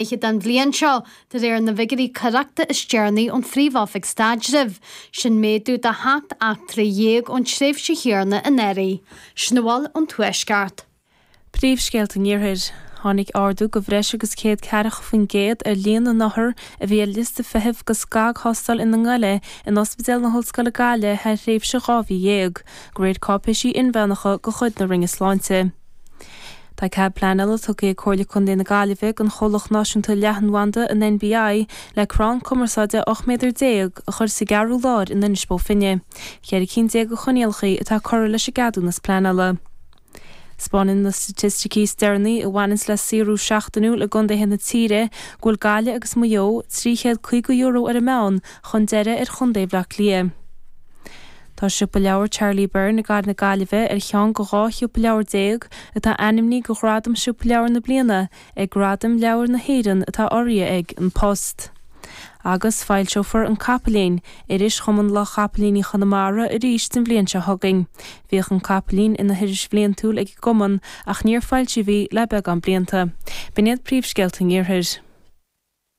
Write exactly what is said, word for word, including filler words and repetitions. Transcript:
fiche den bhliain seo, de réir na bhfigiúirí coireachta is deireanaí ón Phríomh-Oifig Staidrimh. Sin méadú de sheacht eachtra dhéag ón tréimhse chéanna anuraidh. Sin a bhfuil ón Tuaisceart. Príomhscéalta an Iarthair. Tháinig ardú de bhreis agus céad ceathracha faoin gcéad ar líon na n-othar a bhí ar liosta feithimh do scagthástáil ina ngoile in Ospidéal na hOllscoile Gaillimh thar thréimhse dhá mhí dhéag, de réir cáipéisí inmheánacha de chuid na Roinne Sláinte. Tá cead pleanála tugtha ag Comhairle Contae na Gaillimhe don chomhlacht náisiúnta leathanbhanda, an NBI, le crann cumarsáide ocht méadar déag a chur sa gCeathrú Láir in Inis Bó Finne. Ceithre cinn déag de choinníollacha atá curtha leis an gceadúnas pleanála. 'Spáineann na staitisticí is deireanaí a bhaineanns le saothrú seachtainiúil i gcontaetha na tíre go bhfuil Gaillimh agus Maigh Eo trí chéad caoga euro ar an meán chun deiridh ar chontae Bhaile Átha Cliath. Tá Siopa Leabhar Charlie Byrne i gcathair na Gaillimhe ar cheann de dhá shiopa leabhar déag atá ainmnithe do Ghradam Siopa Leabhar na Bliana ag Gradaim Leabhar na hÉireann atá urraithe ag An Post. Agus foilseofar An Capaillín, iris Chumann Lucht Chapaillíní Chonamara, arís an bhliain seo chugainn. Bhíodh An Capaillín ina hiris bhliantúil ag an gcumann ach níor foilsíodh í le beagán blianta. B'in iad príomhscéalta an Iarthair.